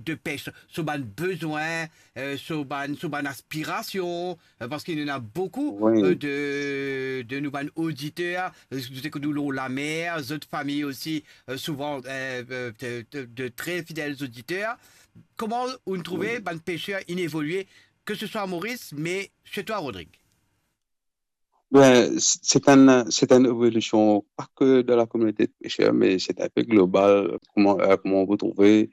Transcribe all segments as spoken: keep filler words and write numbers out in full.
de pêche, so bann bezwin, euh, so bann, so bann aspirasion, euh, parski nou ena boukou, wi, euh, de, de nou bann oditer, euh, zot ekout nou lor lamer, zot fami osi, euh, souvan, euh, euh, de, de, de tre fidel oditer. Kouma ou trouve, wi, bann peser inn evolie, ke se swa Moris, me se twa, Rodrig? Ben, c-, c'est un, c'est une évolution, pas que dans la communauté de pêcheurs, mais c'est un peu global, comment, euh, comment vous trouvez.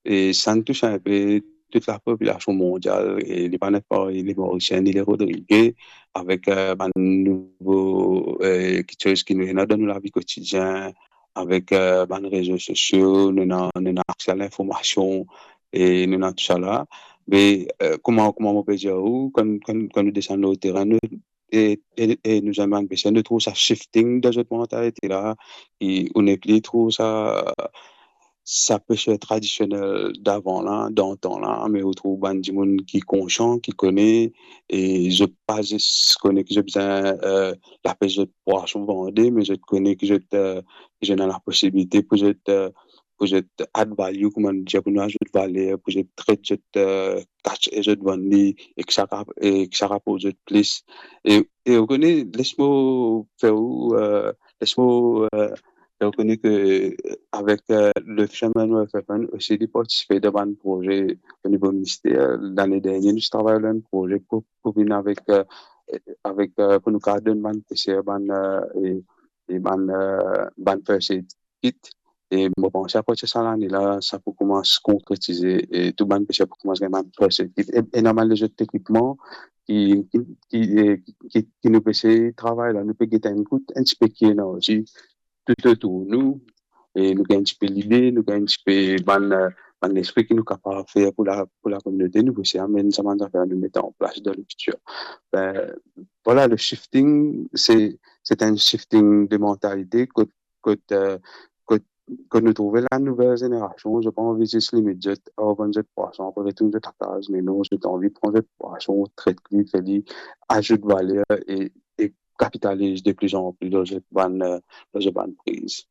Et ça touche un peu toute la population mondiale, et li pa net parey, les Mauriciens, ni les Rodriguais, avec, euh, bann nouvo, euh, kiksoz ki nou ena dan nou lavi kotidien, avec, euh, bann rezo sosio, nou ena, nou ena akse a linformasion, e nou ena tousala. Me, euh, kouma, kouma mo pe dir ou, kan, kan, kan nou desann lor terin, nou, e, e, e nou zame bann peser, nou trouv sa shifting dan zot mantalite la, e ou nepli trouv sa, sa peser tradisionel davan la, dantan la, me ou trouv bann dimoun ki konsian, ki kone, e zot pa zis kone ki zot bizin, euh, lapes zot pwason vande, me zot kone ki zot, euh, ki zot ena laposibilite pou zot, euh, pou zot add value, kouma nou dir, pou nou azout valer, pou zot tret zot, euh, catch e zot vann li, e ki sa rap-, e ki sa raport zot plis. E, e ou kone, les mo fer ou, euh, les mo, euh, fer ou kone ke, euh, avek, euh, le Fisherman Welfare Fund osi, li partisipe dan bann proze o nivo minister. Lane dernie, nou ti travay lor enn proze pou, pou vinn avek, euh, avek, euh, pou nou kapav donn bann peser, bann, euh, e, e bann, euh, bann first aid kit. E mo panse apartir sa lane la, sa pou koumans konkretize e tou bann peser pou koumans gagn bann first aid kit. E, e ena bann lezot ekipman ki, ki, ki, e, ki, ki, ki nou pe esey travay la, nou pe get enn kout, enn tipe ki ena osi toutotour nou. E nou gagn enn tipe lide, nou gagn enn tipe bann, eh, bann lespri ki nou kapav fer pou la, pou lakominote, nou pou esey amenn sa bann zafer nou met an plas dan lefitir. Ben, vwala, le shifting, se, se enn shifting de mantalite kot, kot, eh, kot, kot nou trouve la nouvel zenerasion, zot pa anvi zis limit zot, oh, vann zot pwason, apre retourn zot lakaz, me non, zot anvi pran zot pwason, tret li, fer li, azout valer e, e kapitaliz de plus en plus dan zot bann, eh, dan zot bann priz.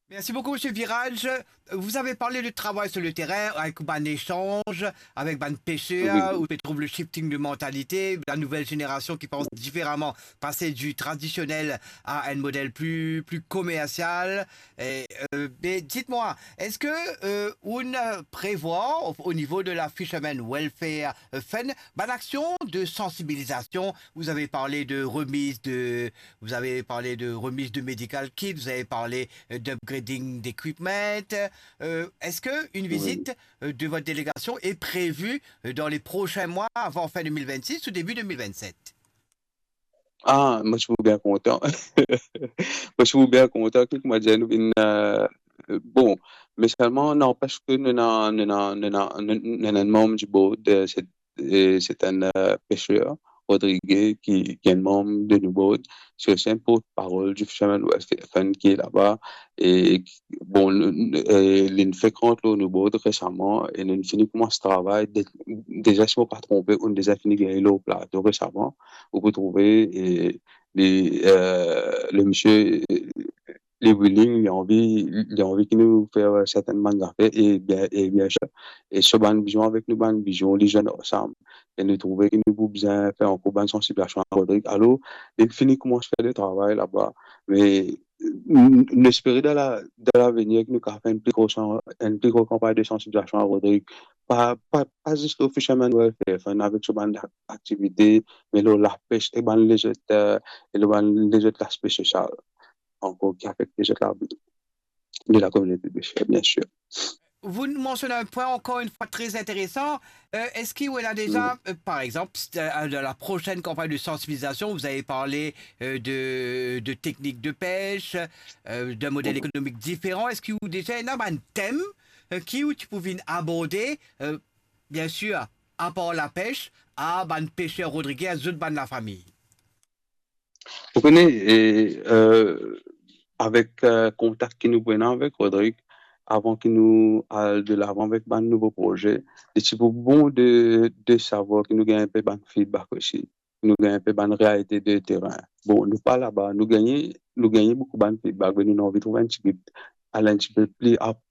Merci beaucoup, Monsieur Virage. Vous avez parlé de travail sur le terrain avec bann échange avec bann pêcheurs, oui, où on trouve le shifting de mentalité, la nouvelle génération qui pense différemment, passer du traditionnel à un modèle plus, plus commercial. Et, euh, mais dites-moi, est-ce que, euh, on prévoit au, au niveau de la Fisherman Welfare, euh, Fund, bann action de sensibilisation? Vous avez parlé de remise de, vous avez parlé de remise de medical kit, vous avez parlé, euh, d'upgrading d'equipment. Euh, est-ce que une, oui, visite, euh, de votre délégation est prévue, euh, dans les prochains mois, avant fin deux mille vingt-six ou début deux mille vingt-sept? Ah, mo ti pou bien kontan. Mo ti pou bien kontan ki, kouma dir, nou vinn, euh, bon, me selman, n'empêche que nou ena, nou ena, nou ena, nou, nou ena enn manm du board, euh, se, e se enn, euh, pêcheur, Rodrigue, ki, ki enn manm de nou board, se osi enn portparol du Fisherman Welfare Fund ki laba, e bon, nou, nou, eh, linn frekant lor nou board resaman, e nou fini koumans travay, de-, deza, si mo pa tronpe, ou'nn deza fini gagn li lor plato resaman, ou pou trouve, e, li, eh, le misie, eh, li willing, li anvi, li anvi ki nou fer sertenn bann zafer, e bien, e bien sir, e so bann vizion avek nou bann vizion, li zwenn ansam, e nou trouve ki nou pou bizin fer ankor bann sansibilizasion a Rodrigue. Alor, linn fini koumans fer le travay laba, me nou, nou espere dan la, dan lavenir ki nou kapav fer enn pli gro san-, enn pli gro kanpagn de sansibilizasion a Rodrigue. Pa, pa, pa zis lor Fisherman Welfare Fund avek so bann aktivite, me lor lapes e bann lezot, eh, e lor bann lezot laspe sosial ankor ki afekte zot lavi de lakominote de pêcheurs, bien sûr. Vous mentionnez un point encore une fois très intéressant. Euh, est-ce qu'il y a déjà, euh, par exemple, c'est, euh, dans la prochaine campagne de sensibilisation, vous avez parlé, euh, de, de techniques de pêche, euh, d'un modèle économique différent. Est-ce qu'il y a déjà un thème, euh, ki ou ti pou vinn aborde, euh, bien sûr, à part la pêche, a bann pêcheurs rodriguais, zot bann lafami? Ou kone, e, euh, avek, euh, kontak ki nou pou ena avek Rodrigue, avan ki nou al delavan avek bann nouvo proze, li ti pou bon de, de savwar ki nou gagn enpe bann feedback osi. Nou gagn enpe bann realite de terin. Bon, nou pa laba, nou gagne, nou gagne boukou bann feedback, me nou anvi trouv enn tigit, al enn tipe pli ap-,